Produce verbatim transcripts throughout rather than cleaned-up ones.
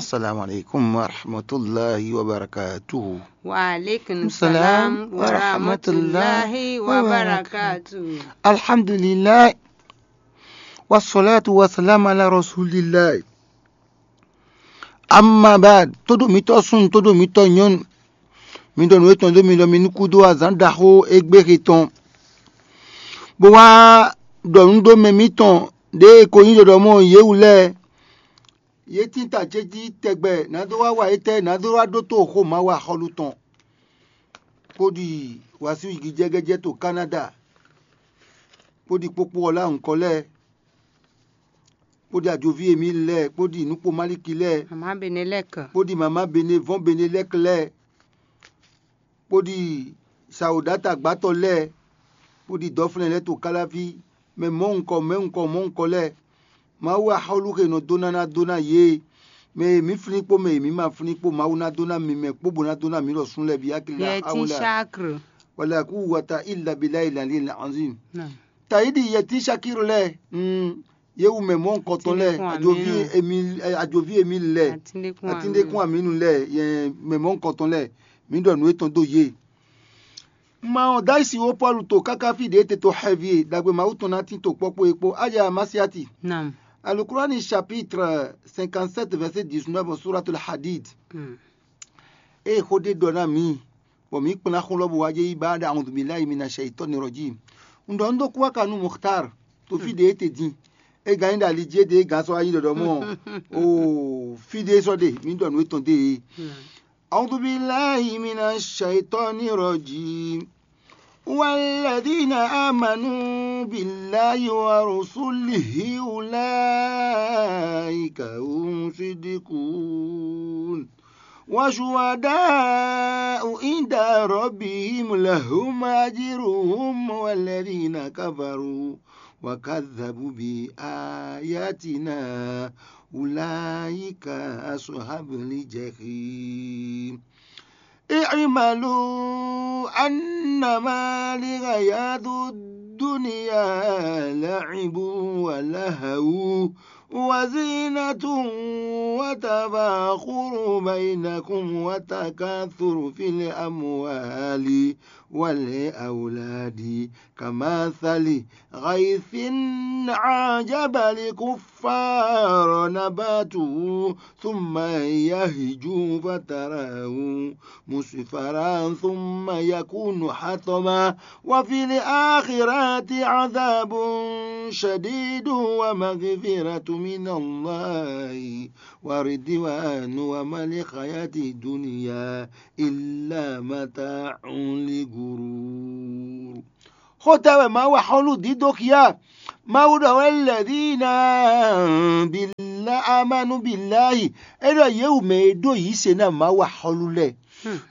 Assalamu alaikum wa rahmatullahi wa barakatuhu. Wa alaikum salam wa rahmatullahi wa barakatuhu. Alhamdulillah. Wa salatu wa salam ala rasulillah. Amma ba'd, todo mitɔ sun, todo mitɔ nyɔnu. Mi ɖɔ nǔ etɔn dó mi ɖɔ mi nú kúdó azǎn ɖaxó égbé he tɔn. Bó wá ɖɔ nǔ ɖó mɛ mitɔn ɖěe ko nyí ɖɔɖɔ mɔ yě wú lɛ́ɛ. Yě tín ta ce jí tɛgbɛ nǎ dó wá wa étɛ́ nǎ dó wá ɖótó xó Mawu axɔ́lú tɔn, bó ɖi wǎsíwígijɛgɛjɛ to Kanada, bó ɖi kpókpó ɔlá ŋkɔ lɛ́ɛ, bó ɖi ajoví Emíli lɛ́ɛ, bó ɖi nǔkpó Malíki lɛ́ɛ, Mama Benelɛk. Bó ɖi mama Bene vɔ́n Benelɛk lɛ́ɛ, bó ɖi sawǒdata gbátɔ lɛ́ɛ, bó ɖi dɔflɛ́n lɛ́ɛ to káláví, mɛ mɔ̌hunkɔ mɛ̌hunkɔ mɔ̌hunkɔ lɛ́ɛ. Mawu axɔ́lú he nɔ dó ná ná dó ná yě. Mɛ e mǐ flín kpó mɛ e mǐ ma flín kpó, Mawu ná dó ná mi mɛ kpó bó ná dó ná mǐ ɖɔ sún lɛ́ɛ bǐ akili Yɛtín awla. Shakr. Wala kú wata illa bilayi lali la anzim. Naam. Tayíɖi yɛtín Shakir lɛ́ɛ, mm, yě wu mɛ mɔ̌hunkɔtɔn lɛ́ɛ, Atíndékún ajoví Aminu. Emil, eh, ajoví Emil lɛ́ɛ, Atíndékún Atíndékún Aminu. Aminu lɛ́ɛ, yɛ mɛ mɔ̌hunkɔtɔn lɛ́ɛ, mǐ ɖɔ nǔ etɔn dó yě. Ma ɔ́, Dayisi wó Pɔ́lu to káká fí ɖě te to xɛvi e ɖagbe Mawu tɔn ná tín to kpɔ́kpó é kpó. Aya Masiati. Naam. Alukurani chapitre cinquante-sept verset dix-neuf, Suratul Hadid. Mm. Ée xó ɖé ɖɔ ná mǐ, bɔ mǐ kplá xó lɔ bó wá jɛ yi ba ɖo awudu bilayi mina shayitɔni rɔjim. Un ɖɔ un ɖó kú wá ka nú Muxtar to fí ɖě e te din. É gán nyí ɖo ali jí é ɖe é gán sɔ́ wá nyí ɖɔɖɔ mɔ. O fí ɖé sɔ́ ɖe mǐ ɖɔ nǔ etɔn ɖe é. Awudu bilayi mina shayitɔni rɔjim. والذين آمنوا بالله ورسله أولئك هم الصديقون وشهداء عند ربهم لهم أجرهم والذين كفروا وكذبوا بآياتنا أولئك أصحاب الجحيم. اعملوا أنما الحياة الدنيا لعب ولهو وزينة وتفاخر بينكم وتكاثر في الأموال والأولاد كمثل غيث أعجب الكفار نباته ثم يهج فتراه مصفرا ثم يكون حطما وفي الآخرة عذاب شديد ومغفرة من الله ورضوان وما الحياة الدنيا إلا متاع الغرور. Xó tɛ́ wɛ Mawu axɔ́lú dídó xyá? Mawu ɖɔ wɛ lɛ̌dína bílá amánu bíláyì. É ɖɔ yě wú mɛ e ɖó yǐ se ná Mawu axɔ́lú lɛ́ɛ.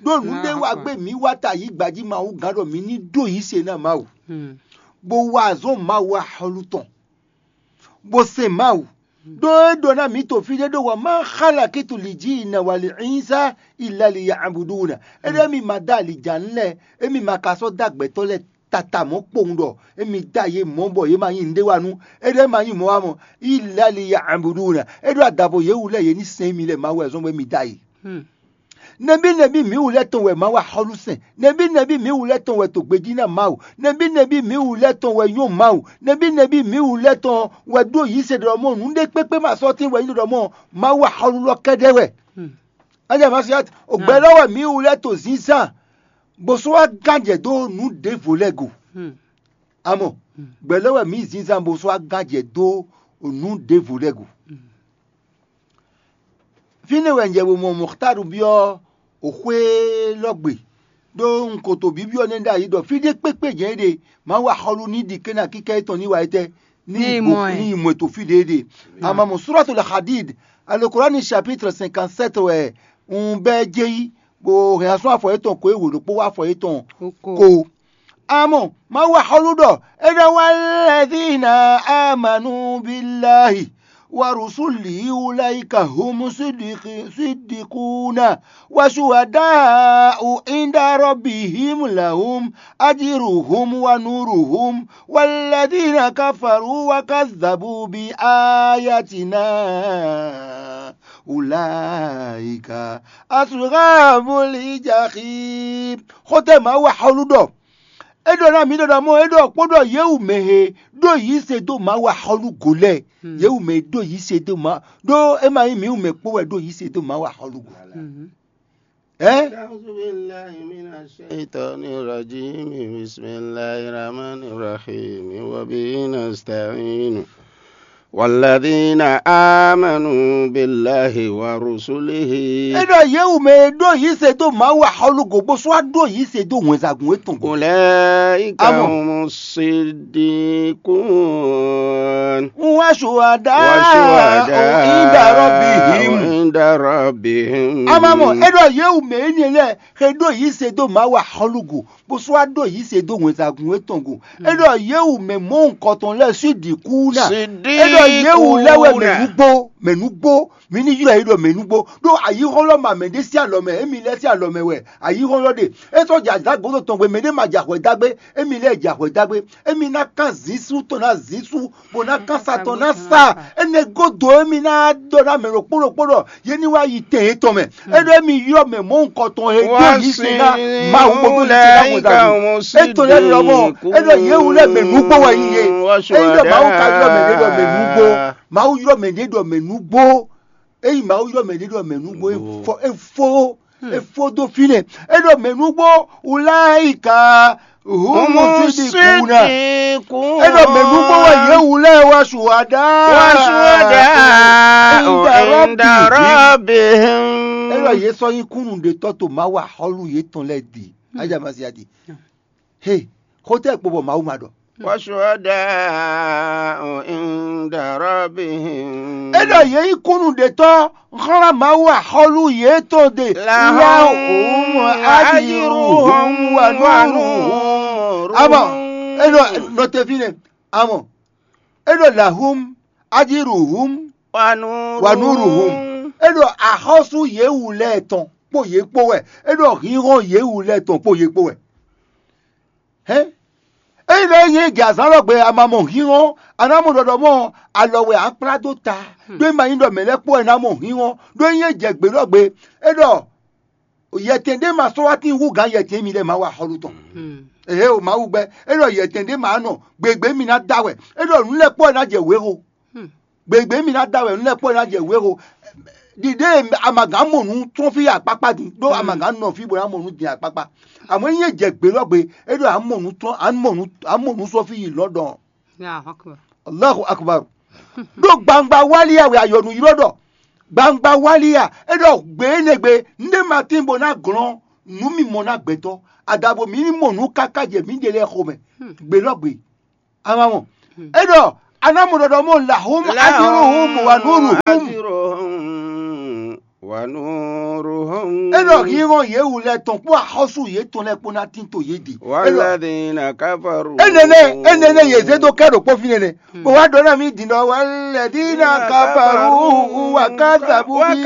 Ɖó nǔɖé wá gbé mǐ wá ta yí gbají Mawu gán ɖɔ mǐ ní ɖó yǐ se ná Mawu, bó wá azɔn Mawu axɔ́lú tɔn, bó se Mawu. Ɖó é ɖɔ ná mǐ to fí ɖé ɖó wɔ má xála kítu lǐ jí ina wali ínsá ilali ya abudúna. É ɖɔ émi ma dó alǐjǎnu lɛ́ɛ, émi ma ka sɔ́ dó agbɛ̌tɔ́ lɛ́ɛ tata mɔ̌ kpowun ɖɔ émi dó ayé mɔ̌ bɔ yě ma nyí nǔɖé wa nú. É ɖɔ é ma nyí mɔ̌ wa mɔ ilali ya abudúna. É ɖɔ adavo yě wú lɛ́ɛ yě ní sɛn émi lɛ́ɛ Mawu wɛ zɔ́n bɔ émi dó ayé. Nɛbí nɛbí mǐ wú lɛ́ɛ tɔn wɛ Mawu axɔ́lú sɛn? Nɛbí nɛbí mǐ wú lɛ́ɛ tɔn wɛ to gbejí ná Mawu? Nɛbí nɛbí mǐ wú lɛ́ɛ tɔn wɛ nyɔ́ Mawu? Nɛbí nɛbí mǐ wú lɛ́ɛ tɔn wɛ ɖó yǐ se ɖɔ mɔ nǔɖé kpékpé ma sɔ́ tín wɛ nyí ɖɔ mɔ Mawu axɔ́lú lɔ kɛ́ɖɛ́ wɛ? Aja Masiat, o gbɛ lɔ wɛ mǐ wú lɛ́ɛ to zínzán bó sɔ́ wá gán jɛ dó nǔ ɖěvo lɛ́ɛ go. Amɔ gbɛ lɔ wɛ mǐ zínzán bó sɔ́ wá gán jɛ dó nǔ ɖěvo lɛ́ɛ go. Fínɛ́ wɛ un jɛ bo mɔ Mɔxtáru byɔ́ xwé élɔ́ gbe, ɖó un ko to bǐbyɔ́ nɛ́ ɖ'ayǐ ɖɔ fí ɖé kpékpé jɛ́n é ɖe, Mawu axɔ́lú ní ɖi kɛ́n ná kíkɛ́ étɔn ní wa étɛ́ ní Ní yi mɔ ɛ. Ní yi mɔ ɛ to fí ɖě é ɖe. Ama mɔ Suratul Hadid, Al-Qur'ani chapitre cinquante-sept wɛ un bɛ́ jɛ yi, bó hɛn asɔ́ afɔ yětɔn ko é wǒ ɖokpó wá afɔ yětɔn Oko. Ko. Amɔ Mawu axɔ́lú ɖɔ é ɖɔ wá lɛdina amanu bilahi wa rusuli ulaika hum sidiki- sidikuna wa shuhadau inda rabbihim lahum ajiruhum wa nuruhum walladina kafaru wa kazabu bi ayatina ula Ika ashabul jahim. Xótɛ Mawu axɔ́lú ɖɔ. É ɖɔ ná mǐ ɖɔ ɖɔ mɔ é ɖɔ kpó ɖɔ yě wú mɛ he ɖó yǐ se dó Mawu axɔ́lú go lɛ́ɛ. Yě wú mɛ ɖó yǐ se dó Mawu ɖó é ma nyí mǐ wú mɛ kpó wɛ ɖó yǐ se dó Mawu axɔ́lú go. Ɛ? أعوذ بالله من الشيطان الرجيم. بسم الله الرحمن الرحيم. وبه نستعين. والذين آمنوا بالله ورسله. É ɖɔ yě wú mɛ e ɖó yǐ se dó Mawu axɔ́lú go bó sɔ́ wá ɖó yǐ se dó wɛnsagun étɔn go. أولئك Amɔ. هم الصديقون. Wa shuhada. Wa shuhada. Inda rabbihim. Inda rabbihim. Amamɔ, é ɖɔ yě wú mɛ énɛ́ lɛ́ɛ xe ɖó yǐ se dó Mawu axɔ́lú go bó sɔ́ wá ɖó yǐ se dó wɛnsagun étɔn go. É ɖɔ yě wú mɛ mɔ̌hunkɔtɔn lɛ́ɛ sín ɖǐkú ná. É ɖɔ yě wú lɛ́ wɛ mɛ nǔgbó, mɛ nǔgbó, mi ní ylɔ́ yě ɖɔ mɛ nǔgbó. Ɖó ayǐhɔ́lɔ́ ma mɛ ɖé sín alɔ mɛ, émi lɛ́ɛ sín alɔ mɛ wɛ ayǐhɔ́lɔ́ ɖe. É sɔ́ jɛ azǎn gǒdo tɔn gbe, mɛ ɖé ma jɛ axwɛ dá gbé, émi lɛ́ɛ jɛ axwɛ dá gbé. Émi ná kán zǐnsú tɔn ná zǐnsú, bó ná kán sa tɔn ná sa. Énɛ́ gúdo émi ná ɖɔ ná mɛ ɖokpó ɖokpó ɖɔ yě ní wá yi tɛn yětɔn mɛ. É ɖɔ émi ylɔ́ mɛ mɔ̌hunkɔtɔn e ɖó yǐ se ná Mawu bó ɖó yǐ se ná wɛnsagun. É to lɛ́ ɖɔ mɔ, é ɖɔ yě wú lɛ́ mɛ nǔgbó wɛ yí yé. É ɖɔ Mawu ka ylɔ́ mɛ ɖé ɖɔ mɛ nǔgbó. Mawu ylɔ́ mɛ ɖé ɖɔ mɛ nǔgbó. Ényí Mawu ylɔ́ mɛ ɖé ɖɔ mɛ nǔgbó, é fɔ é fó é fó dó fínɛ́. É ɖɔ mɛ nǔgbó wláyíká húmú sídìkú ná. É ɖɔ mɛ nǔgbó wɛ yě wú lɛ́ɛ wá ṣùwádá. Wá ṣùwádá. Inda rabbihim. É ɖɔ yě sɔ́ nyí kúnnú ɖe tɔ́ to Mawu axɔ́lú yětɔn lɛ́ɛ ɖi. Aja Masiya ɖi. He, xótɛ́ kpo bɔ Mawu ma ɖɔ. Wa shuhada'u inda rabbihim. É ɖɔ yě nyí kúnnú ɖetɔ́ xlán Mawu axɔ́lú yětɔn ɖe. Lahum ajruhum wa nuruhum. Amɔ é ɖɔ nɔtɛví nɛ. Amɔ é ɖɔ lahum ajruhum wa nuruhum. É ɖɔ axɔ́sú yě wú lɛ́ɛ tɔn kpó yě kpó wɛ. É ɖɔ hínhɔ́n yě wú lɛ́ɛ tɔn kpó yě kpó wɛ. Hɛn? Ényí ɖɔ é nyí jɛ azǎn lɔ gbe a ma mɔ hínhɔ́n, a ná mɔ ɖɔɖɔ mɔ alɔ wɛ a kplá dó ta. Ɖó é ma nyí ɖɔ mɛ̌ lɛ́ɛ kpó wɛ ná mɔ hínhɔ́n. Ɖó é nyí jɛ gbe lɔ gbe, é ɖɔ yɛtɛn ɖé ma sɔ́ wá tín hú gǎn yɛtɛn émi lɛ́ɛ ma wa xɔlu tɔn. Ehe o Mawu gbɛ, é ɖɔ yɛtɛn ɖé ma nɔ gběgbé mi ná da wɛ. É ɖɔ nǔ lɛ́ɛ kpó wɛ ná jɛ wěxo. Gběgbé mi ná da wɛ nú lɛ́ kpɔ́ ná jɛ wěxo. Ɖiɖée amagǎn mɔ nǔ tɔn fí akpákpá din ɖó amagǎn nɔ fí bó ná mɔ nǔ din akpákpá. Amɔ̌ nyí é jɛ gbě lɔ gbe, é ɖɔ amɔ nǔ tɔn amɔ nǔ amɔ nǔ sɔ́ fí yi lɔ̌ ɖɔ. Allahu akbar. Ɖó gbangba wálíyá wɛ ayɔnu ylɔ́ ɖɔ. Gbangba wálíyá é ɖɔ gbě énɛ́ gbe nɖé ma tín bó ná glɔ́n nǔ mimɔ ná gbɛtɔ́. Adabo mǐ ní mɔ nǔ káká jɛ mǐɖée lɛ́ɛ xomɛ. Gbě lɔ gbe. A ma mɔ. É ɖɔ a ná mɔ ɖɔɖɔ mɔ lahum ajruhum wa nuruhum. Ajruhum wa nuruhum. É ɖɔ hínhɔ́n yě wú lɛ́ɛ tɔn kpó axɔ́sú yětɔn lɛ́ɛ kpó ná tín to yě ɖi. Walladhina kafaru. Énɛ́ nɛ́ énɛ́ nɛ́ yě zé dó kɛ ɖo kpó fínɛ́ nɛ́. Bó wá ɖɔ ná mì din ɖɔ walladhina kafaru wa kadhabu bi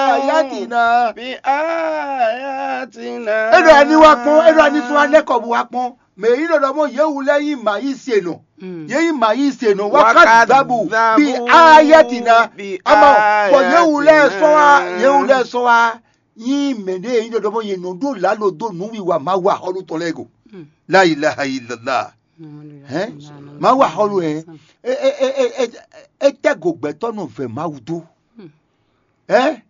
ayatina. Bi ayatina. É ɖɔ ani wá kpɔ́n, é ɖɔ ani sún anɛ́ kɔ bó wá kpɔ́n. Mɛ yi ɖɔ ɖɔ mɔ yě wú lɛ́ nyí mǎ yí se nɔ. Yě nyí mǎ yí se nɔ wá ká dabu bi ayatina. Ama bɔ yě wú lɛ́ sɔ́ wá, yě wú lɛ́ sɔ́ wá nyí mɛ ɖé yi ɖɔ ɖɔ mɔ yě nɔ ɖó lǎlo dó nǔwiwa Mawu axɔ́lú tɔn lɛ́ɛ go. La ilaha illallah. Hɛn? Mawu axɔ́lú hɛn. É é é é é é tɛ́ go gbɛtɔ́ nɔ vɛ Mawu dó. Hɛn?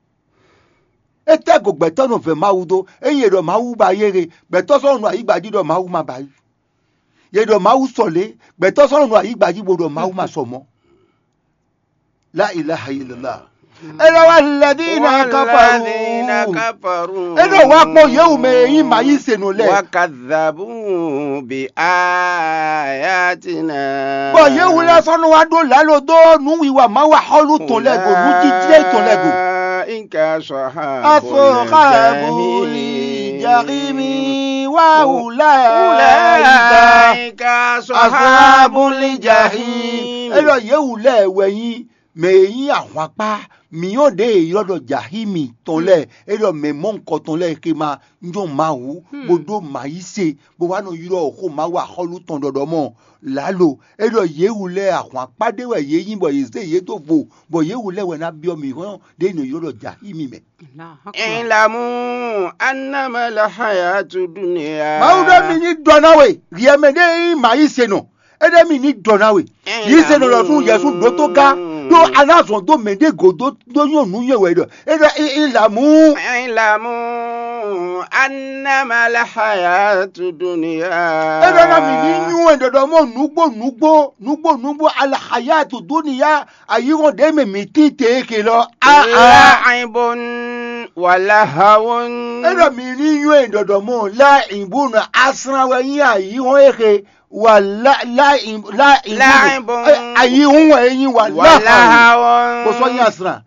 É tɛ́ go gbɛtɔ́ nɔ vɛ Mawu dó. Ényí è ɖɔ Mawu ba yé he, gbɛtɔ́ sɔ́ nɔ ayǐgba jí ɖɔ Mawu ma ba yí. Yě ɖɔ Mawu sɔ lě, gbɛtɔ́ sɔ́ nɔ ayǐgba jí bó ɖɔ Mawu ma sɔ mɔ̌. La ilaha illallah. É ɖɔ wá lɛdínà káfàrú. Walladhina kafaru. É ɖɔ wá kpɔ́n yě wú mɛ e nyí mǎ yí se nɔ lɛ́ɛ. Wa kadhabu bi ayatina. Bɔ yě wú lɛ́ɛ sɔ́ nɔ wá ɖó lǎlo dó nǔwiwa Mawu axɔ́lú tɔn lɛ́ɛ go, nǔjíjlɛ́ tɔn lɛ́ɛ go. Ulaika ashabul jahimi wa ulaika ashabul jahim. É ɖɔ yě wú lɛ́ɛ wɛ nyí Mɛ e nyí ahwankpá mǐyɔ́ ɖě e è ylɔ́ ɖɔ Jahími tɔn lɛ́ɛ, é ɖɔ mɛ mɔ̌hunkɔtɔn lɛ́ɛ xe ma nyɔ́ Mawu, bó ɖó mǎ yí se, bó wá nɔ ylɔ́ xó Mawu axɔ́lú tɔn ɖɔɖɔmɔ lǎlo. É ɖɔ yě wu lɛ́ɛ ahwankpá ɖé wɛ yě nyí, bɔ yě zé yě dó vo, bɔ yě wu lɛ́ɛ wɛ ná byɔ́ mǐ hɔn ɖě e è nɔ ylɔ́ ɖɔ Jahími mɛ. Ilamu annama lahayatu dunya. Mawu ɖɔ mi ní ɖɔ ná we, hiɛ mɛ ɖé nyí mǎ yí se nɔ. É ɖɔ mi ní ɖɔ ná we. Yí se nɔ lɔ sún Yɛsu ɖótó gá. Ɖó a ná zɔn dó mɛ ɖé gǒ dó dó nyɔ́ nǔ nyɔ́ wɛ ɖɔ. É ɖɔ ilamu. Ilamu annama lahayatu dunya. É ɖɔ ná mi ní nyú ɛ ɖɔɖɔ mɔ nǔgbó nǔgbó nǔgbó nǔgbó alahayatu dunya, ayihɔn ɖě mɛ mǐ tín te é ke lɔ. Aa. La'ibun wa lahawun. É ɖɔ mi ní nyú ɛ ɖɔɖɔ mɔ la ìbúnɔ asran wɛ nyí ayihɔn é ke. Wa la la la Lahibun. Ayihun wɛ é nyí wa Wa lahawun. lahawun. Bó sɔ́ nyí asran.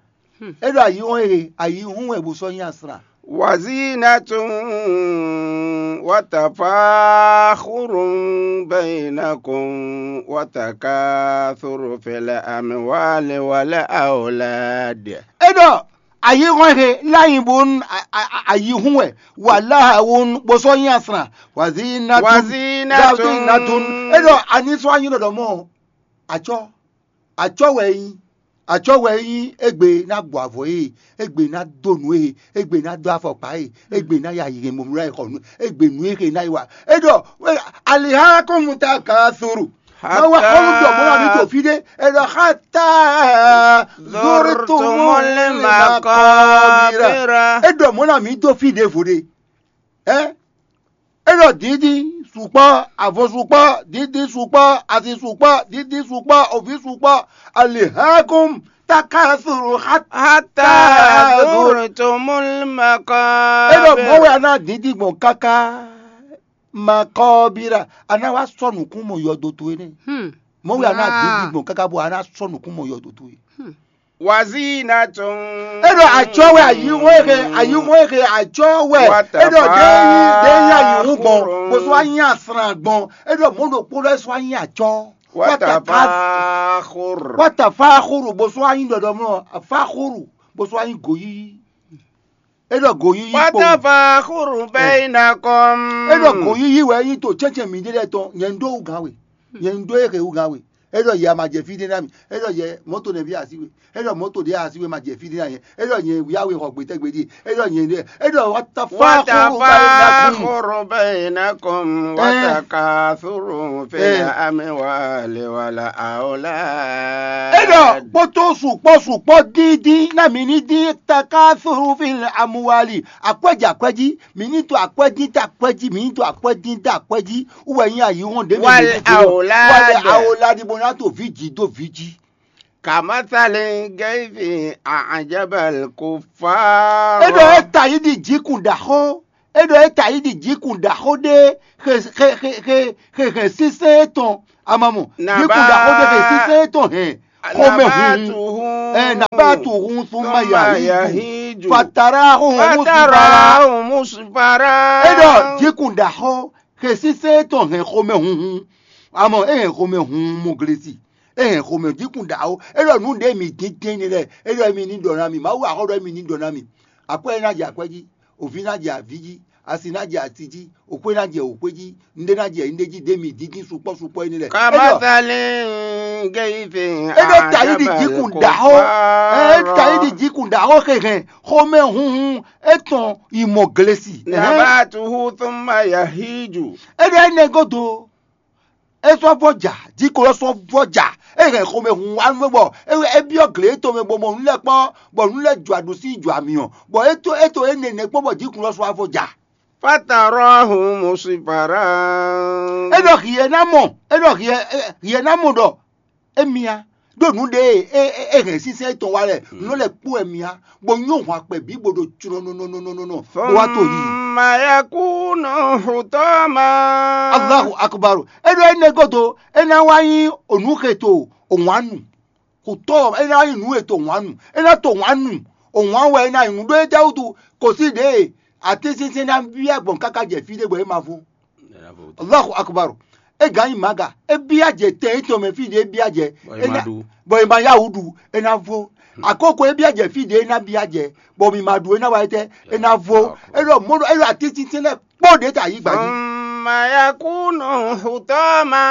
É ɖɔ ayihun e ayihun wɛ bó sɔ́ nyí asran. Wazinatun wa tafakhurun bainakum wa takathurun fil amwali wal awlad. É ɖɔ ayihun e láyìn bó ayihun wɛ wa lahawun bó sɔ́ nyí asran. Wazinatun. Wazinatun. Wazinatun. É ɖɔ ani sɔ́ anyi ɖɔɖɔ mɔ. Atsɔ atsɔ wɛ é nyí. Atsɔ wɛ é nyí. Égbé ná gbɔ avɔ é, égbé ná dó nǔ é, égbé ná dó afɔkpa é, égbé ná ya yi hɛn mɔmlá yi xɔ nǔ, égbé nǔ é xe ná yi wa. É ɖɔ aliha kɔn mu ta ka soro. Má wá xɔlú ɖɔ mɔ̌ ná mi ɖo fí ɖé. É ɖɔ hata zurtumul maqabira. É ɖɔ mɔ̌ ná mi dó fí ɖěvo ɖé. Ɛ é ɖɔ dǐndín sukpɔ́, avɔ sukpɔ́, dǐndín sukpɔ́, asi sukpɔ́, dǐndín sukpɔ́, oví sukpɔ́, alihakum takasuru hata Hatta zurtumul maqabir. É ɖɔ mɔ̌ wɛ a ná dǐndín gbɔn káká makɔbira, a ná wá sɔ́ nǔkún mɔ yɔdo towe nɛ́. Mɔ̌ wɛ a ná dǐndín gbɔn káká bɔ a ná sɔ́ nǔkún mɔ yɔdo towe. Wazinatun. É ɖɔ atsɔ wɛ ayihun e xe ayihun e xe atsɔ wɛ. É ɖɔ ɖe yi ɖe yi ayihun gbɔn bó sɔ anyi asran gbɔn. É ɖɔ mɔ̌ ɖokpó lɛ́ sɔ anyi atsɔ. Watafakhur. Watafakhuru bó sɔ anyi ɖɔɖɔmlɔ fakhuru bó sɔ anyi goyiyi. É ɖɔ goyiyi kpo. Watafakhur bainakum. É ɖɔ goyiyi wɛ nyi to tsɛntsɛn mi ɖe lɛ tɔn nyɛ un ɖó wú gǎn we. Nyɛ un ɖó ehe wú gǎn we. É ɖɔ yɛ a ma jɛ fí ɖé ná mi. É ɖɔ yɛ mɔ̌to nɛví asi we. É ɖɔ mɔ̌to ɖé asi we ma jɛ fí ɖé ná nyɛ. É ɖɔ nyɛ wíyá we xɔ gbětɛ́ gbeɖé. É ɖɔ nyɛ ɖé. É ɖɔ watafakhuru bainakum. Watafakhur bainakum. Watakathurun fil amwali wal awlad. É ɖɔ kpótó sukpɔ́ sukpɔ́ dídí ná mi ní dín takasuru fil amwali. Akwɛ́ jɛ akwɛ́ jí, mi ní to akwɛ́ dín dó akwɛ́ jí, mi ní to akwɛ́ dín dó akwɛ́ jí. Wú wɛ nyí ayihɔn ɖě mɛ Wal awlad. Wal awlad bó ná to vǐ jí dó vǐ jí. Kamathali gaifi a'jabal kuffar. É ɖɔ é ta yí ɖi jǐkun ɖaxó. É ɖɔ é ta yí ɖi jǐkun ɖaxó ɖé xe xe xe xe xe xe sínsɛ́n étɔn. Amamɔ jǐkun ɖaxó ɖé xe sínsɛ́n étɔn hɛn xomɛ hunhun. Ɛ nabatu hun suma yahiju fatara hun musibara. Fatarahu musfara. É ɖɔ jǐkun ɖaxó xe sínsɛ́n étɔn hɛn xomɛ hunhun. Amɔ é hɛn xomɛ hun mɔ glesi. É hɛn xomɛ jǐkun ɖaxó. É ɖɔ nǔ ɖé mi dín tɛ́nne lɛ́ɛ. É ɖɔ mi ní ɖɔ ná mi. Mawu axɔ́ ɖɔ mi ní ɖɔ ná mi. Akwɛ́ ná jɛ akwɛ́ jí. Òví ná jɛ aví jí. Asi ná jɛ asi jí. Òxwé ná jɛ òxwé jí. Ŋɖé ná jɛ ŋɖé jí. Ɖé mi dídín sukpɔ́ sukpɔ́ énɛ́ lɛ́ɛ. É ɖɔ Kamathali gaifi é ɖɔ tayíɖi jǐkun ɖaxó. Ɛ tayíɖi jǐkun ɖaxó xexɛn xomɛ hunhun étɔn yi mɔ glesi. Ɛhɛn. Nabatuhu thumma yahiju. É ɖɔ énɛ́ gúdo. É sɔ́ vɔ́ ja, jǐkun ɔ́ sɔ́ vɔ́ ja. É hɛn xomɛ hun wá nú bɔ é é byɔ́ gle étɔn mɛ bɔ mɔ nǔ lɛ́ɛ kpɔ́n, bɔ nǔ lɛ́ɛ jɔ aɖǔsí jɔ amyɔ, bɔ é to é to énɛ́ nɛ́ kpɔ́n bɔ jǐkun ɔ́ sɔ́ wá vɔ́ ja. Fatarahu musfara. É ɖɔ hiɛ ná mɔ, é ɖɔ hiɛ hiɛ ná mɔ ɖɔ émia ɖo nǔ ɖe e é hɛn sínsɛ́n étɔn wá lɛ nǔ lɛ́ɛ kpó wɛ mia, bó nyɔ́ hwan kpɛ bǐ bó ɖo clɔnɔnɔnɔnɔ bó wá to yi. Thumma yakunu hutama. Allahu akubaru. É ɖɔ énɛ́ gúdo é ná wá nyí onǔ xe to òwánu. Xutɔ é ná nyí nǔ e to wǎn nu. É ná to wǎn nu. Òwǎn wɛ é ná nyí nǔ ɖó é jɛ wútu kò sí ɖě e atínsínsɛ́n ná byɔ́ gbɔn káká jɛ fí ɖé bɔ é ma vo. Allahu akubaru. É gǎn nyi mǎga, é byá jɛ tɛn étɔn mɛ fí ɖě é byá jɛ, bɔ è ma ɖu, bɔ è ma yá wǔ ɖu, é ná vo. Akóko é byá jɛ fí ɖě é ná byá jɛ, bɔ mǐ ma ɖu, é ná wa étɛ́, é ná vo. É ɖɔ mɔ̌ ɖɔ é ɖɔ atínsínsɛ́n lɛ́ɛ kpó ɖě ta yí gba jí. Mayakunu hutama.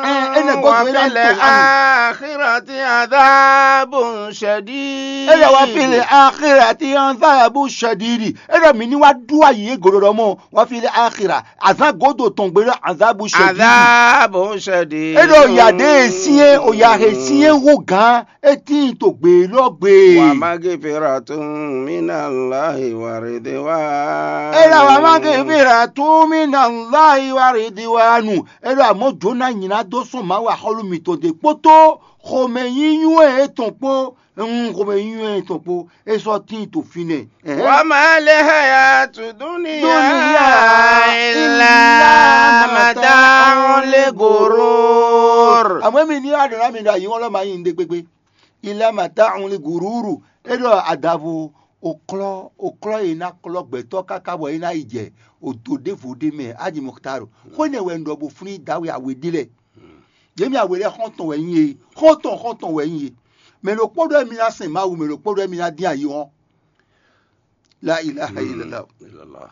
Ɛ, énɛ́ gɔ́ wafil akhirati adhabun shadid. É ɖɔ wafil akhirati adhabun shadid. É ɖɔ mǐ ní wá ɖu ayi é gǒɖɔɖɔ mɔ wafil akhira. Azán gǒdo tɔn gbe ɖɔ adhabun shadid. Adhabun shadid. É ɖɔ ya ɖě e syɛ́n, o ya he syɛ́n hú gǎn, é tíin to gbě élɔ́ gbe. Wa maghfiratun minallahi wa ridwan. É ɖɔ wa maghfiratun minallahi wa ridwanu. É ɖɔ amɔ̌ jǒ ná nyi ná dó sɔ́ Mawu axɔ́lú mitɔn ɖe kpótó xomɛ nyínyɔ́ etɔn kpó, un xomɛ nyínyɔ́ etɔn kpó, é sɔ́ tíin to fínɛ́. Wa ma lil hayatu dunya illa mata'ul ghurur. Àmọ́ mi ní àdó ná mi ɖo ayǐ wọn lɔ ma nyí ndé gbégbé. Illa mata'ul ghurur. É ɖɔ adavo òklɔ òklɔ e ná klɔ gbɛtɔ́ káká bɔ é ná yi jɛ òdò ɖěvo ɖé mɛ. Aji Mɔkutaro. Xó énɛ́ wɛ un ɖɔ bo flín dawe awe ɖé lɛ. Yě mi awe lɛ xɔ́ntɔn wɛ nyí e. Xɔ́ntɔn xɔ́ntɔn wɛ nyí e. Mɛ ɖokpó ɖɔ mi ná sɛn Mawu, mɛ ɖokpó ɖɔ mi ná dín ayǐ hɔn. La ilaha illallah.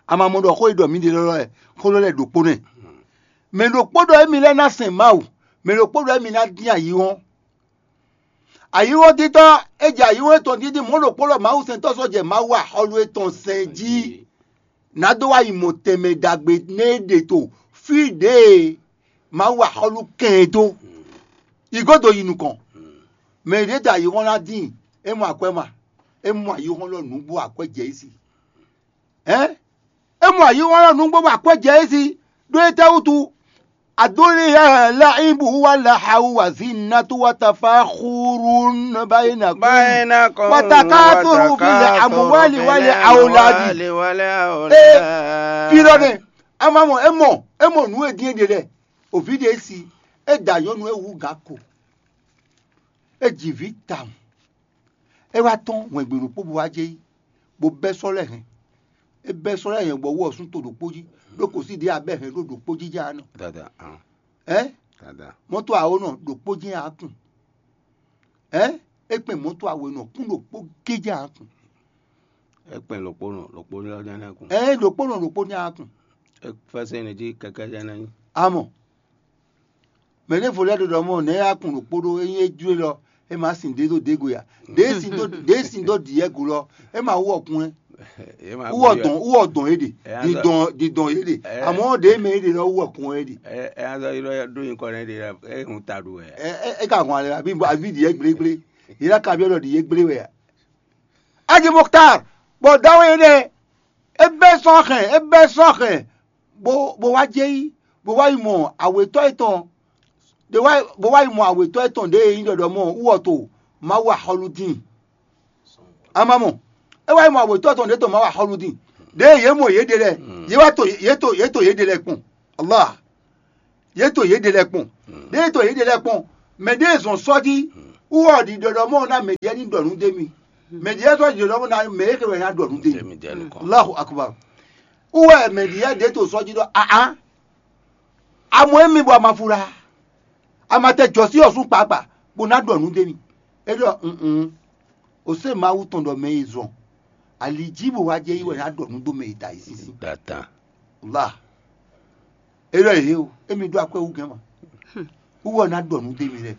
Ama mɔ ɖɔ xó e ɖɔ mǐ ɖe lɔlɔ ɛ, xó lɔ lɛ ɖokpó nɛ. Mɛ ɖokpó ɖɔ émi lɛ́ɛ ná sɛn Mawu, mɛ ɖokpó ɖɔ émi ná dín ayǐhɔ́n. Ayǐhɔ́n títɔ́, é jɛ ayǐhɔ́n etɔn dídí mɔ̌ ɖokpó lɔ Mawu sɛntɔ́ sɔ́ jɛ Mawu axɔ́lú etɔn sɛn jí. Ná dó wá yi mɔ tɛnmɛ ɖagbe nɛ é ɖe to fí ɖě e Mawu axɔ́lú kɛn ɛ dó. Yi gǒdo yi nukɔn. Mɛ ɖě da ayǐhɔ́n ná dín, é mɔ akwɛ́ ma, é mɔ ayǐhɔ́n lɔ nǔgbó akwɛ́ jɛ é sí. Hɛ̌n? É mɔ ayǐhɔ́n lɔ nǔgbó bɔ akwɛ́ jɛ é sí, ɖó étɛ́ wútu? Adúlíyá láìbù wá làhàwù wà zí nàtú wá tafá xúrú bayinakum. Bayinakum wà takáfúrú fil amwali wal awladi. Ee, fí lɔ nɛ, a ma mɔ, é mɔ, é mɔ nǔ e dín é ɖe lɛ, òví ɖe é sí, é da nyɔ̌nu é wú gǎ ko, é ji vǐ tawun. É wá tɔ́n hwɛ̌ngbe ɖokpó bó wá jɛ yí, bó bɛ́ sɔ́ lɛ́ɛ hɛn. É bɛ́ sɔ́ lɛ́ɛ hɛn bɔ wú ɔ́ sún to ɖokpó jí, ɖó kǒsí ɖě abɛ́ hɛn ɖó ɖokpó jí jɛ́n a nɔ. Dada, hàn. Ɛ? Dada. Mɔ́tò awǒ nɔ ɖokpó jɛ́n a kún. Ɛ? É kpɛn mɔ́tò awǒ nɔ kún ɖokpó gé jɛ́n a kún. É kpɛn ɖokpó nɔ ɖokpó jɛ́n a kún. Ɛ, ɖokpó nɔ ɖokpó jɛ́n a kún. É fɛ́sɛ́ nɛ jí kɛkɛ́ jɛ́n ná nyí. Amɔ. Mɛ ɖěvo lɛ́ɛ ɖo ɖɔ mɔ nɛ̌ a kun ɖokpó ɖó, ényí é jló lɔ, é ma sin ɖě dó ɖěgo ya. Ɖě sin dó ɖě sin dó ɖiyɛ́go lɔ, é ma wú ɔkun ɛ. Wú ɔdɔn wú ɔdɔn é ɖe. Didɔn didɔn é ɖe. Amɔ̌ ɖě mɛ é ɖe lɔ wú ɔkun ɛ ɖe. Ɛ ɛ azɔ yi ɖɔ ɖó nyikɔ nɛ ɖe é hun ta ɖu wɛ. Ɛ ɛ é ka hɔn alɛ àbí àbí ɖiyɛ́ gblégblé. Yě ná ka byɔ́ ɖɔ ɖiyɛ́ gblé wɛ a? Aji Muktar, bɔ dawe énɛ́, é bɛ́ sɔ́ hɛn, é bɛ́ sɔ́ hɛn, bó bó wá jɛ yí, bó wá yi mɔ awětɔ́ étɔn, ɖé wá bó wá yi mɔ awětɔ́ étɔn ɖě e nyí ɖɔɖɔ mɔ wú ɔ to Mawu axɔ́lú dín. A ma mɔ, é wá yi mɔ awětɔ́ étɔn ɖě to Mawu axɔ́lú dín. Ɖěe yě mɔ yěɖée lɛ́ɛ, yě wá to yě to yě to yěɖée lɛ́ɛ kpɔ́n. Allah. Yě to yěɖée lɛ́ɛ kpɔ́n. Ɖěe to yěɖée lɛ́ɛ kpɔ́n, mɛ ɖěe zɔn sɔ́ jí wú ɔ ɖi ɖɔɖɔ mɔ ná mɛ ɖě ní ɖɔ nǔ dó mì. Mɛ ɖě sɔ́ ɖi ɖɔɖɔ mɔ ná mɛ é xewɛ ná ɖɔ nǔ dó mì. Allahu akbar. Wú wɛ mɛ ɖě ɖě to sɔ́ jí ɖɔ ahan. Amɔ émi bɔ a ma fura, a ma tɛ jɔ̌sí ɔ́ sú kpakpa, bó ná ɖɔ nǔ dó mì. É ɖɔ nn, o se Mawu tɔn ɖɔ mɛ e zɔn ali jí bó wá jɛ yí wɛ ná ɖɔ nǔ dó mɛ e da yi sísí. Datan. La. É ɖɔ yě o, émi ɖó akwɛ́ wú gɛ́n ma. Wú wɛ ná ɖɔ nǔ dó mì lɛ.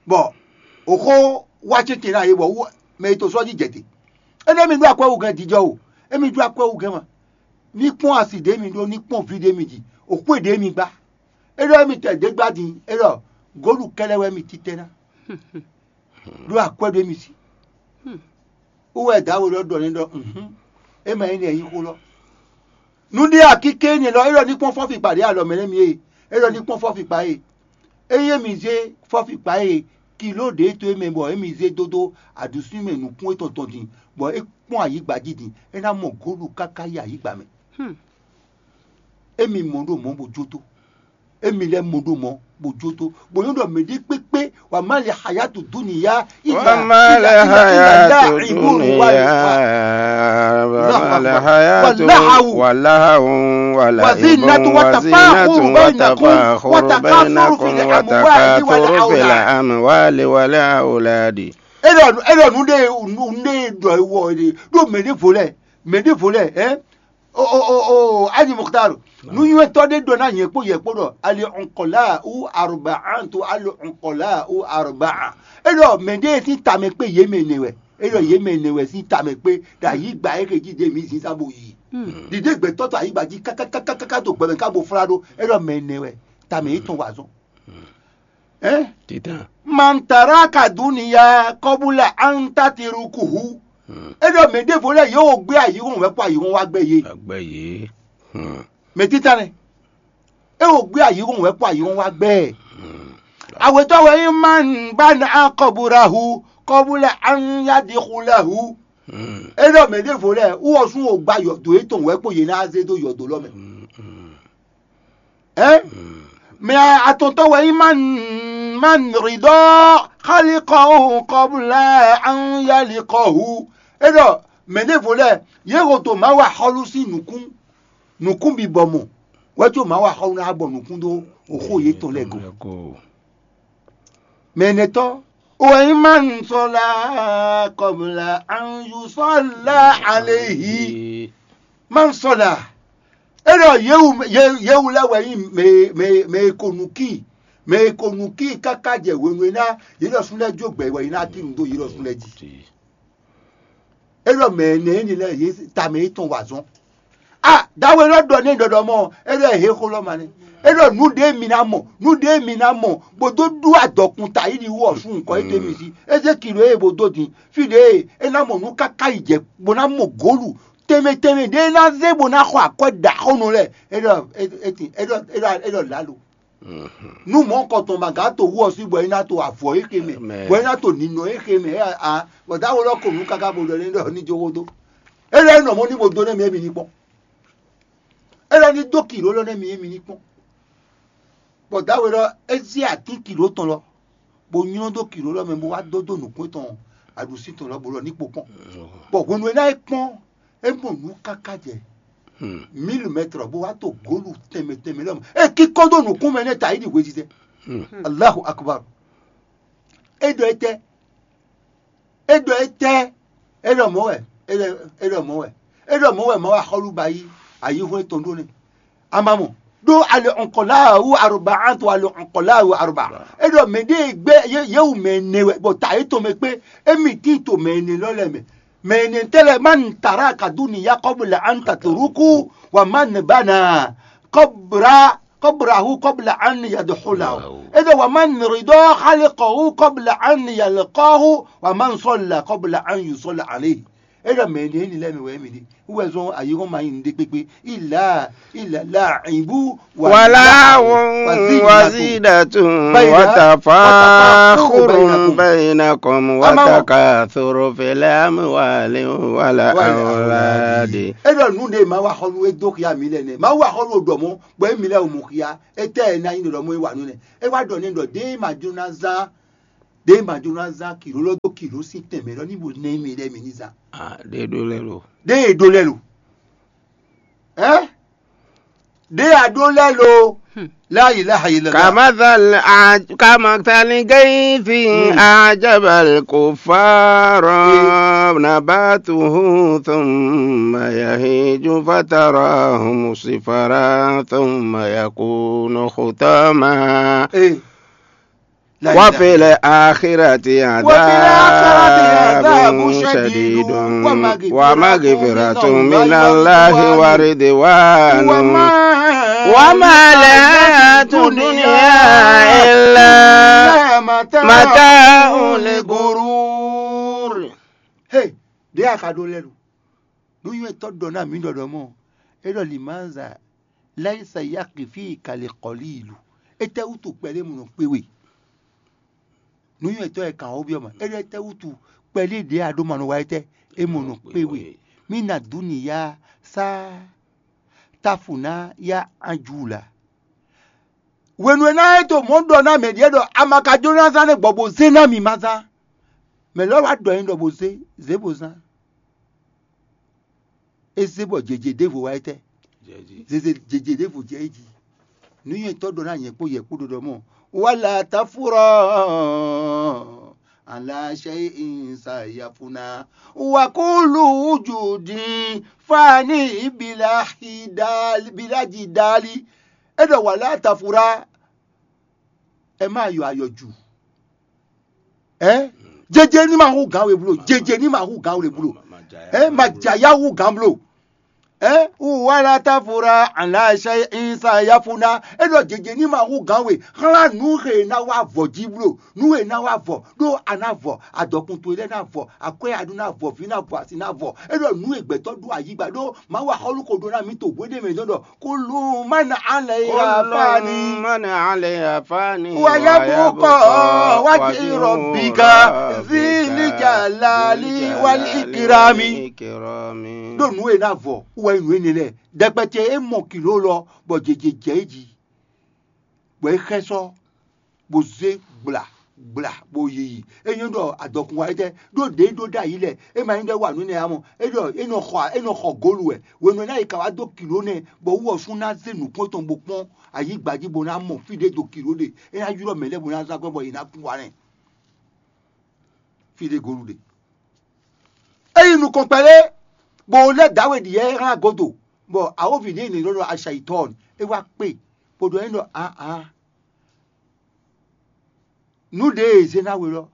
Bɔ òxó wá céte ná yě bɔ wú mɛ e to sɔ́ jí jɛ te. Énɛ́ mi ɖó akwɛ́ wú gɛ́n jijɔ o, émi ɖó akwɛ́ wú gɛ́n ma. Ní kpɔ́n asi ɖě mi ɖó, ní kpɔ́n vi ɖě mi ji, òxwé ɖě mi gbá. É ɖɔ émi tɛ ɖě gbá din, é ɖɔ gǒlu kɛ́lɛ́ wɛ mi títɛ́ ná. Ɖó akwɛ́ ɖé mi sí. Wú wɛ dǎwe lɔ ɖɔ nɛ́ ɖɔ, é ma nyí nɛ́ nyí xó lɔ. Nǔɖé akíké énɛ́ lɔ, é ɖɔ ní kpɔ́n fɔ́fi kpa ɖě alɔ mɛ nɛ́ mi é, é ɖɔ ní kpɔ́n fɔ́fi kpa é. Ényí émi zé fɔ́fi kpa é, kiló ɖě to é mɛ bɔ émi zé dó dó aɖusú mɛ nǔkún étɔn tɔn din, bɔ é kpɔ́n ayǐgba jí din, é ná mɔ gǒlu káká yi ayǐgba mɛ. Émi mɔ ɖo mɔ̌ bó jó tó. Émi lɛ́ mɔ ɖo mɔ̌ bó jó tó. Bó nyɔ́ ɖɔ mɛɖé kpékpé wà má lɛ hayatu dúnìyá. Wa ma lil hayatu dunya, wa ma lil hayatu, wa lahawun وزينة وتفاخر بينكم وتكاثر في الأموال والأولاد. É ɖɔ é ɖɔ nǔ ɖé nǔ ɖé ɖɔ é wɔ é ɖé ɖó mɛ ɖěvo lɛ́ɛ mɛ ɖěvo lɛ́ɛ ɛ o o o o Aji Mukhtar nǔnywɛ́tɔ́ ɖé ɖɔ ná nyɛ kpó yɛ kpó ɖɔ ali ɔnkɔlá wú arba anto ali ɔnkɔlá wú arba é ɖɔ mɛ ɖé sín tamɛ kpé yě mɛ nɛ wɛ é ɖɔ yě mɛ nɛ wɛ sín tamɛ kpé ɖo ayǐgba é xe jí ɖě mǐ zǐn sá bo yi ɖiɖé gbɛtɔ́ to ayǐgba jí kákákákáká to gbɛmɛ ká bo flá ɖó é ɖɔ mɛ nɛ wɛ tamɛ yětɔn wa zɔn. Ɛ? Títàn. Man taraka duniya kɔbula an tatirukuhu. É ɖɔ mɛ ɖěvo lɛ́ɛ yě wo gbé ayǐhɔ́n wɛ kpó ayǐhɔ́n wá gbɛ yé. Agbɛ yě. Hmm. Mɛ títàn nɛ. É wo gbé ayǐhɔ́n wɛ kpó ayǐhɔ́n wá gbɛ. Awětɔ́ wɛ nyí man bana kɔburahu kɔbula an yadixulahu. Hmm. É ɖɔ mɛ ɖěvo lɛ́ɛ wú ɔ́ sún wo gba yɔ̌dó yětɔn wɛ kpó yě ná zé dó yɔ̌dó lɔ mɛ. Hmm, hmm. Ɛ? Mɛ atɔntɔ wɛ nyí man man ridɔ xalikɔhu kɔbla an yalikɔhu. É ɖɔ mɛ ɖěvo lɛ́ɛ yě ho to Mawu axɔ́lú sín nǔkún nǔkún bibɔ mɔ wɛ có Mawu axɔ́lú ná bɔ nǔkún dó oxó yětɔn lɛ́ɛ go. Mɛ nɛtɔ́ wɛ nyí man sɔla kɔbla an yusɔla alehi. Man sɔla é ɖɔ yewu yewu lɛ́ɛ wɛ nyí mɛ mɛ mɛ e ko nukí mɛ e ko nukí káká jɛ hwenu e ná yě ɖɔ sún lɛ́ɛ jó gbɛ wɛ yě ná tín nǔ dó yě ɖɔ sún lɛ́ɛ jí. É ɖɔ mɛ énɛ́ énɛ́ lɛ́ɛ yě tamɛ yětɔn wa azɔn. A dawe lɔ ɖɔ n'i ɖɔɖɔ mɔ é ɖɔ he xó lɔ ma nɛ é ɖɔ nǔ ɖé mi ná mɔ nǔ ɖé mi ná mɔ bó dó ɖú adɔkun ta yi ɖi wú ɔsún nukɔ yi ɖe mi sí é zé kilo eye bó dó din fí ɖě é ná mɔ nǔ káká yi jɛ bó ná mɔ gǒlu tɛnmɛ tɛnmɛ ɖé ná zé bó ná xɔ akwɛ́ ɖaxónɔ lɛ́ɛ é ɖɔ é é tin é ɖɔ é ɖɔ é ɖɔ lǎlo. Nú mɔ̌ kɔtɔn ma gǎn to wú ɔ́ sí bɔ é ná to avɔ é xe mɛ bɔ é ná to ninɔ é xe mɛ é a bɔ dáwó lɔ ko nǔ káká bo ɖɔ ní ɖɔ ní jó xó dó. É lɛ́ nɔ mɔ̌ ní bo dó nɛ́ mi émi ní kpɔ́n. É lɛ́ ní dó kǐɖó lɔ nɛ́ mi émi ní kpɔ́n. Bɔ dáwó lɔ é zé atín kǐɖó tɔn lɔ bo nylɔ́ dó kǐɖó lɔ mɛ bo wá dó dó nǔkún tɔn aɖǔsí tɔn lɔ bo ɖɔ ní kpo kpɔ́n. Bɔ hwenu e ná é kpɔ́n é mɔ nǔ káká jɛ mílímɛtr bó wá to gǒlu tɛnmɛ tɛnmɛ lɔmɔ é kíkɔ dó nǔkún mɛ nɛ́ ta yi ɖi hwezizɛ. Allahu akbar. É ɖɔ étɛ́ é ɖɔ étɛ́ é ɖɔ mɔ̌ wɛ é ɖɔ é ɖɔ mɔ̌ wɛ é ɖɔ mɔ̌ wɛ Mawu axɔ́lú ba yí ayihún étɔn ɖó nɛ́. A ma mɔ ɖó ali ɔnkɔláwu aroba anto ali ɔnkɔláwu aroba. É ɖɔ mɛ ɖé gbé yéwu mɛ ɛnɛ wɛ bɔ ta yětɔn mɛ kpé émí tín to mɛ ɛnɛ lɔ lɛ́ɛ mɛ. Mɛ ɛnɛ tɛ́ lɛ́ɛ má nu tara kadúni Yakɔ́bu lɛ antatoroku wa má nu bá na kɔbra kɔbrahu kɔbla an yadoxola o. É ɖɔ wa má nu ridɔ xalikɔhu kɔbla an yalekɔhu wa má nu sɔla kɔbla an yusɔla ale. É ɖɔ mɛ ɛnɛ énɛ́ lɛ́ɛ mɛ wɛ émí ɖe. Wú wɛ zɔ́n ayǐhɔ́n ma nyí nǔɖé kpékpé. Ila ila la ibu wala wazidatu watafakhurun bainakum watakathuru fil amwali wal awladi. É ɖɔ nǔ ɖé ma wa xɔ nú é dó xia mi lɛ nɛ. Ma wa xɔ nú ɖɔ mɔ bɔ émi lɛ o mɔ xia. Étɛ́ ɛ ná nyí ɖɔ mɔ é wa nú nɛ. É wá ɖɔ nɛ ɖɔ ɖé ma jló ná zán ɖé ma jló ná zán kǐɖó lɔ dó kǐɖó sín tɛnmɛ lɔ ní bo nɛ émi lɛ mi ní zán. Ah, ɖé ɖó lɛ́ lo. Ɖé e ɖó lɛ́ lo. Ɛ? Ɖé a ɖó lɛ́ lo. La ilaha illallah. Kamathal aj- kamathal gaithi ajabal kufara nabatuhu thumma yahiju fatarahu musifara thumma yakunu khutama. Eh. La ilaha. Wa fil akhirati adhabun shadidun wa maghfiratun minallahi wa ridwanun wa ma lahayatu dunya illa mata'ul ghurur. Hey, ɖé a ka ɖó lɛ́ ɖo. Nǔnywɛ́tɔ́ ɖɔ ná mǐ ɖɔ ɖɔ mɔ̌, é ɖɔ limanza laisa yaki fí kali kɔlí ìlú. Étɛ́wútu kpɛɖé mɔ nɔ kpé we? Nǔnywɛ́tɔ́ e kan wǒ byɔ́ mɛ, é ɖɔ étɛ́wútu kpɛɖé ɖě a ɖó ma nɔ wa étɛ́? É mɔ nɔ kpé we. Mí na dǔ nǐ yá sá táfu ná yá anjú la. Hwenu e ná é to mɔ̌ ɖɔ ná mɛ ɖíe ɖɔ a ma ka jló ná zán nɛ́ gbɔ bó zé ná mi ma zán. Mɛ lɛ́ɛ wá ɖɔ nyi ɖɔ bó zé, zě bó zán. É zé bɔ jějě ɖěvo wá étɛ́? Zeze jeje ɖěvo jɛ é jí. Nǔnywɛ́tɔ́ ɖɔ ná nyɛ kpó yɛ kpó ɖɔɖɔ mɔ. Wala tafura ala shay'in sayafuna. Wa kulu wujudi fani bila hidali, bila jidali. É ɖɔ wala tafura. Ɛ má yɔ ayɔ ju. Ɛ jeje ní ma hú gǎn we blo, jeje ní ma hú gǎn we blo. Ɛ ma jaya hú gǎn blo. Ɛ wala tafura ala shay'in sayafuna. É ɖɔ jeje ní ma hú gǎn we. Xlán nǔ he ná wá vɔ jí blo. Nǔ he ná wá vɔ ɖó a ná vɔ, adɔkun towe lɛ́ɛ ná vɔ, akwɛ́ aɖú ná vɔ, vǐ ná vɔ, asi ná vɔ. É ɖɔ nǔ e gbɛtɔ́ ɖó ayǐgba ɖó Mawu axɔ́lú ko ɖó ná mì to hweɖé mɛ dɔn ɖɔ kulu man alayha fani. Man alayha fani. Wa yabqa wajhu rabbika zil jalali wal ikrami. Ɖó nǔ e ná vɔ wɛ nǔ énɛ́ lɛ́ɛ dɛkpɛtɛ é mɔ kilo lɔ bɔ jeje jɛ é jí, bɔ é xɛ́ sɔ́ bó zé gbla gbla bó yiyi. É nyɔ́ ɖɔ adɔkun wa étɛ́ ɖó ɖě ɖó ɖ'ayǐ lɛ́ɛ, é ma nyí ɖɔ é wa nǔ énɛ́ ǎ mɔ. É ɖɔ é nɔ xɔ é nɔ xɔ gǒlu wɛ. Hwenu e ná yi ka wá dó kilo nɛ́ bɔ wú ɔ́ sú ná zé nǔkpɔ́n tɔn bó kpɔ́n ayǐ gba jí bó ná mɔ fí ɖé do kilo ɖe, é ná ylɔ́ mɛ lɛ́ɛ bó ná zán akwɛ́ bɔ yě ná kú wa nɛ́. Fí ɖé gǒlu ɖe. É yi nukɔn kpɛɖé bó lɛ́ dǎwe ɖi yɛ é hán godo, bɔ awǒvi ɖě è nǐ ɖɔ ɖɔ aṣayitɔ́ɔn é wá kpe bó ɖɔ é ɖɔ ǎ ǎ. Nǔ ɖě e è zé ná we lɔ,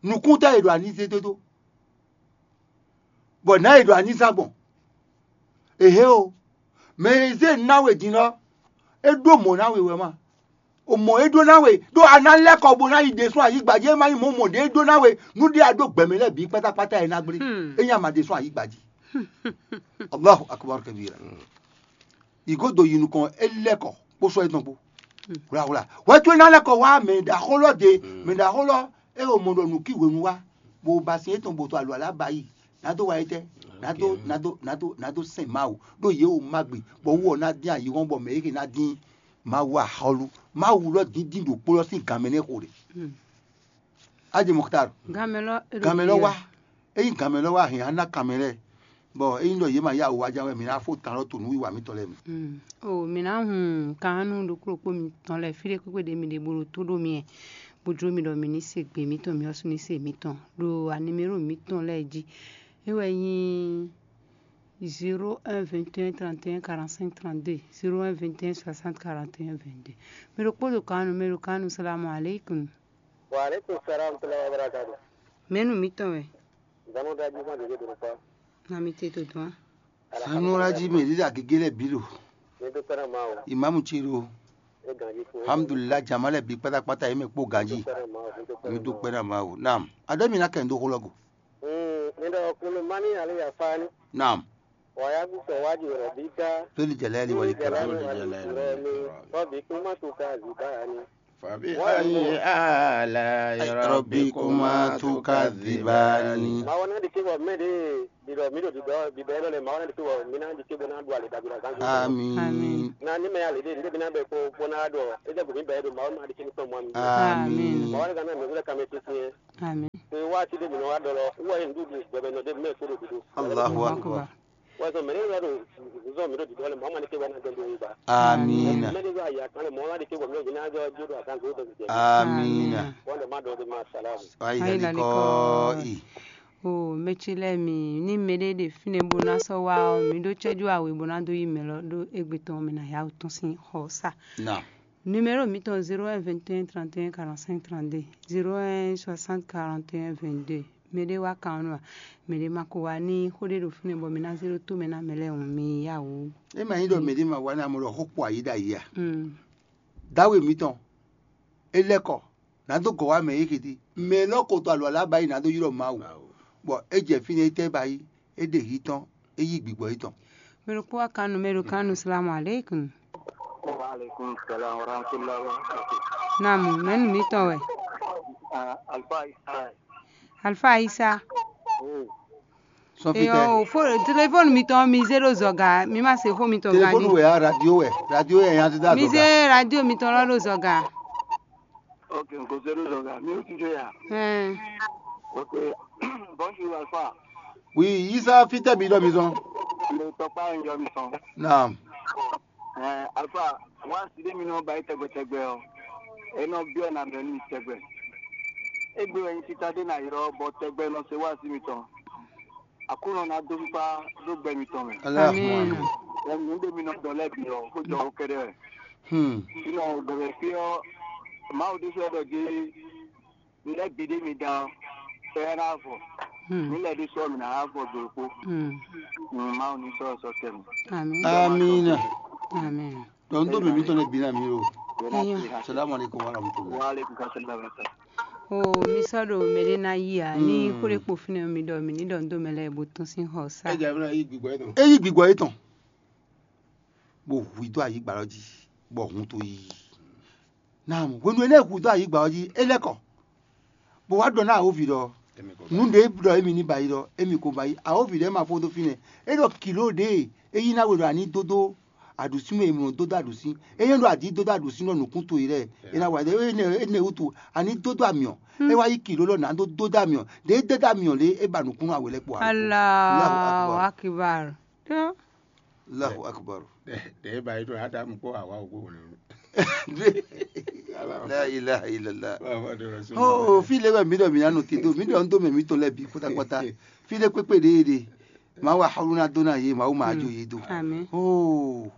nǔkún tɛ́ è ɖo ani zé dó dó, bɔ nǎ è ɖo ani zán gbɔn? Ehe o, mɛ e zé ná we din lɔ, é ɖó mɔ̌ ná we wɛ ma. O mɔ̌ e ɖó ná we, ɖó a ná lɛ́ kɔ bó ná yi ɖésú ayǐgba jí, é má nyí mɔ̌ mɔ̌ ɖé e ɖó ná we, nǔ ɖé a ɖó gbɛ̌mɛ lɛ́ɛ bǐ kpátákpátá e ná gblé, é nyí a ma ɖésú ayǐgba jí. Allahu akbar kabira. Yi godo yi nukɔn, é lɛ́ kɔ kpó sɔ́ étɔn kpó. Hwlahwla. Hwɛ towe ná lɛ́ kɔ wá mɛ ɖaxó lɔ ɖe, mɛ ɖaxó lɔ, é o mɔ ɖɔ nǔ kí hwenu wá, bó ba sin étɔn bó to alɔ alá ba yi, ná dó wa étɛ́, ná dó ná dó ná dó ná dó sɛn Mawu, ɖó yě o má gbe, bɔ wú ɔ ná dín ayihɔ́n bɔ mɛ yěke ná dín Mawu axɔ́lú. Mawu lɔ díndín ɖokpó lɔ sín gan mɛ nɛ́ xo ɖe. Adi Muxtar, Ganmɛ lɔ, e ɖo ganmɛ lɔ biɔ. Wá. Ényí ganmɛ lɔ wá hɛn á ná kanmɛ lɛ́ɛ, bɔ ényí ɖɔ yě ma yá wǔ wá ján wɛ, mǐ ná fó tan lɔ to nǔwiwa mǐtɔn lɛ́ɛ mɛ. Mm. O mǐ ná hun kannu ɖokpó ɖokpó mitɔn lɛ́ɛ fí ɖé kpékpé ɖě mi ɖe bó ɖo tó ɖó mi wɛ, bó jló mi ɖɔ mi ní se gbe mǐtɔn, mi ɔ́ sú ní se mǐtɔn. Ɖo animéro mǐtɔn lɛ́ɛ jí, é wɛ nyí zéro un vingt et un trente et un quarante-cinq trente-deux, zéro un vingt et un soixante quarante et un vingt-deux. Mɛ ɖokpó ɖo kannu, mɛ ɖo kannu, salamu aleykum. Wa aleykum salam tula wa barakatu. Mɛnu mǐtɔn wɛ? Zanu ɖaji ma ɖe ɖe ɖo kpa. Na mi te to dɔn. Sanu la jí mɛ ɖi ɖa gégé lɛ bí lo. Mi do pɛrɛ ma o. Imamu ce lo. E ganji ko. Alhamdulillah, jama lɛ bí kpátákpátá yě mɛ kpó ganji. Mi do pɛrɛ ma o. Naam. Adé mi na kɛ ndo xolɔgo. Mm, mi do kulu mani ale ya fani. Naam. Wa ya bu sɔ wa ji rɔ bi ka. Lórí jẹlẹ ni wali kẹrẹ. Rọ bi kuma to ka zi ba ni. Fabi ayi ala yɔrɔbikuma tukadibani. Mawu ná ɖi kébɔ mɛ ɖe ɖiɖɔ mí ɖo ɖiɖɔ bibɛ lɔ lɛ Mawu ná ɖi kébɔ mí ná ɖi kébɔ ná ɖu ale ɖagbe ɖagbe. Amin. Amin. Na ní mɛ ale ɖe ní bí ná bɛ kó bó ná ɖɔ é jẹ́ gòmí bɛ ɖo Mawu ná ɖi kébɔ tɔn mɔ mi. Amin. Mawu ná gana mɛ wúlẹ̀ kàmɛ titi yẹn. Amin. Pé wá ti ɖe mí nɔ wá ɖɔ lɔ wúwa yẹn ɖu ɖu gbɛbɛ nɔ ɖe mɛ kó ɖo ɖiɖo. Allahu akbar. Wazɔ mɛ ne yɔ do zɔn mi do didɔ le mɔmɔ ne ke bɔ na dɔn do ba. Amina. Mɛ ne yɔ ya kan le mɔmɔ de ke bɔ mi do na jɔ jo do akan go do jɛ. Amina. Wanda ma do de ma salam. Ayi lali kɔ i. O mɛ ce lɛ mi ni mɛ ɖe ɖe fínɛ bó ná sɔ́ wá ɔ mi ɖó cɛ́jú awe bó ná dó yi mɛ lɔ ɖó égbé tɔn mɛ ná yá wǔ tɔn sín xɔ sá. Na. Numéro mǐtɔn zéro un vingt et un trente et un quarante-cinq trente-deux, zéro un soixante quarante et un vingt-deux. Mɛ ɖé wá kan ɔ́ nú a? Mɛ ɖé ma ko wá ní xó ɖé ɖo fínɛ́ bɔ mi ná zé ɖó tó mɛ ná mɛ lɛ́ɛ hǔn mi yá wǔ. É ma nyí ɖɔ mɛ ɖé ma wá ná mɔ ɖɔ xó kpɔ ayǐ ɖo ayǐ a? Mm. Dáwe mǐtɔn é lɛ́ kɔ, nǎ dó gɔ̌ wá mɛ é xiti. Mɛ lɔ́ ko to alɔ alá ba yi nǎ dó ylɔ́ Mawu. Bɔ é jɛ fínɛ́ é tɛ́ ba yi, é ɖe hǐ tɔn, é yí gbigbɔ yětɔn. Mɛ ɖokpó wá kan nú mɛ ɖo kan nú salamu aleykum. Wa aleykum salam wa rahmatullahi wa barakatuh. Namu, mɛnu mǐtɔn wɛ? Ah, Alfa Isa. Alfa Isa. Oh. Sɔfitɛ. Eyɔ, o fo telefɔni mǐtɔn mi zé ɖo zɔga, mi ma se xó mítɔn gan. Telefɔni wɛ ya, radio wɛ, radio wɛ ya ti da zɔga. Mi zé radio mítɔn lɔ ɖo zɔga. Ok, n ko zé ɖo zɔga, mi o ti do ya. Ɛn. Ok. Bonjour Alfa. Oui, Isa fitɛ bi ɖɔ mi zɔn. Tɔkpá nyɔjɔ mi sɔn. Naam. Ɛɛ, alfa, wá sí ɖé mi nɔ ba yi tɛgbɛtɛgbɛ ɔ, e nɔ biɔ na mɛ nú mi tɛgbɛ. Egbe wɛ nyi tita ɖé na yrɔ bɔ tɛgbɛ nɔ se wá sí mi tɔn. Aklúnɔ ná dó fífá dó gbɛ mitɔn mɛ. Allahumma Amin. Amin. Ɛɛ, nǔ ɖé mi nɔ dɔn lɛ bǐ ɔ, kó jɔ ó kɛɖɛ wɛ. Hmm. Sinɔ gbɛgbɛ fí ɔ, Mawu ɖésú wɛ ɖɔ jí, mi lɛ́ bǐ ɖé mi dán ɔ́, sɛ ɛ ná vɔ. Hmm. Mi lɛ́ ɖésú ɔ́, mi ná wá vɔ do kpó. Hmm. Mawu ní sɔ́ sɔ́ tɛnu. Amin. Amina. Amin. Donc ndo mi mitɔn lɛ bi na mi o. Eyan. Salamu alaikum wa rahmatullah. Wa alaikum salam. O mi sɔ ɖo mɛ ɖé ná yi a ní Hmm. Xó ɖé kpo fínɛ́ mi ɖɔ mi ní ɖɔ ndo mɛ lɛ bó tún sín xɔ sá. Ɛ jẹ́ abúlé yí gbígbọ́ yìí tán. Eyi gbigbɔ yetɔn, bó hu i dó ayǐgba lɔ jí, bɔ hun to yi. Naam, hwenu e nɛ hu dó ayǐgba ɔ́ jí, é lɛ́ kɔ, bó wá ɖɔ ná awǒvi ɖɔ, nǔ ɖě ɖɔ émí ní ba yi ɖɔ émí ko ba yi. Awǒvi ɖɔ é ma fó dó fínɛ́. É ɖɔ kilo ɖě é yí ná we ɖɔ a ní dó dó aɖǔsín mɛ, è mlɔ dó dó aɖǔsín. É nyɔ́ ɖɔ a dǐ dó dó aɖǔsín ɖɔ nǔkún towe lɛ́ɛ, é ná wa ɖe énɛ́ énɛ́ wútu a ní dó dó amyɔ. É wá yí kilo lɔ nǎ dó dó dó amyɔ. Ɖě é dó dó amyɔ lě é ba nǔkún nú awě lɛ́ɛ kpó alo. Allahu Akbar. Akbar. Allahu Akbar. Ɖe ba yi ɖo Adamu kpó Hawa wò gbogbo nínú. La ilaha illallah. Oh, fi le wɛ mi ɖɔ mi anu ti do, mi ɖɔ ndo mɛ mi to lɛ bi kpata kpata. Fi le kpekpe ɖe ɖe. Ma wa hawlu na do na ye, ma wo ma jo ye do. Amen. Oh.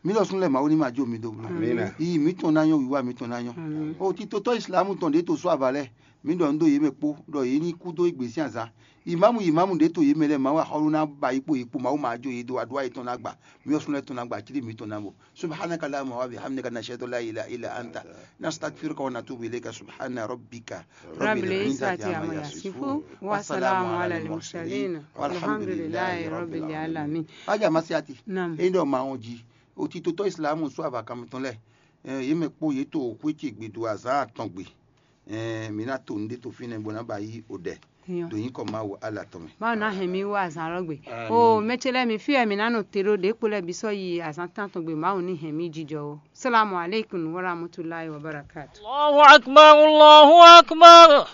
Mi ɖɔ sun lɛ ma wo ni ma jo mi do. Amina. Yi mi tɔn na nyɔ, wiwa mi tɔn na nyɔ. Amen. Oh, ti to tɔ Islam tɔn de to so avalɛ. Mi ɖɔ ndo ye mɛ kpo, ɖɔ ye ni kú dó igbe sin azan. Imamu imamu ɖe to ye mɛ lɛ, ma wa hawlu na ba yi kpo ye kpo, ma wo ma jo ye do, adua ye tɔn na gba. Mi ɔ sun lɛ tɔn na gba, cili mi tɔn na bo. Subhanaka Allahumma wa bihamdika, nashhadu an la ilaha illa anta, nastaghfiruka wa natubu ilayka. Subhana rabbika Rabbil izzati amma yasifun, wa salamun alal mursalin, walhamdulillahi rabbil alamin. Aja masiati. Naam. E ɖɔ ma ɔn ji. Oti to tɔ Islam so ava kan tɔn lɛ. Eh, ye mɛ kpo ye to xwe ce gbe do azan atɔn gbe. Eh, mi na to nde to fine bo na ba yi o ɖɛ. Nyɔ. Do yin kɔ ma wo ala tɔn mɛ. Mawu ná hɛn mì wá azǎn lɔ gbe. Àmín. O mɛ ce lɛ́ɛ mi fí wɛ mǐ ná nɔ te ɖó ɖě kpo lɛ́ɛ bǐ sɔ́ yi azǎn tán tɔn gbe Mawu ní hɛn mì jijɔ ó. Salamu aleykum wa rahmatulahi wa barakatu. Allahu akbar, Allahu akbar.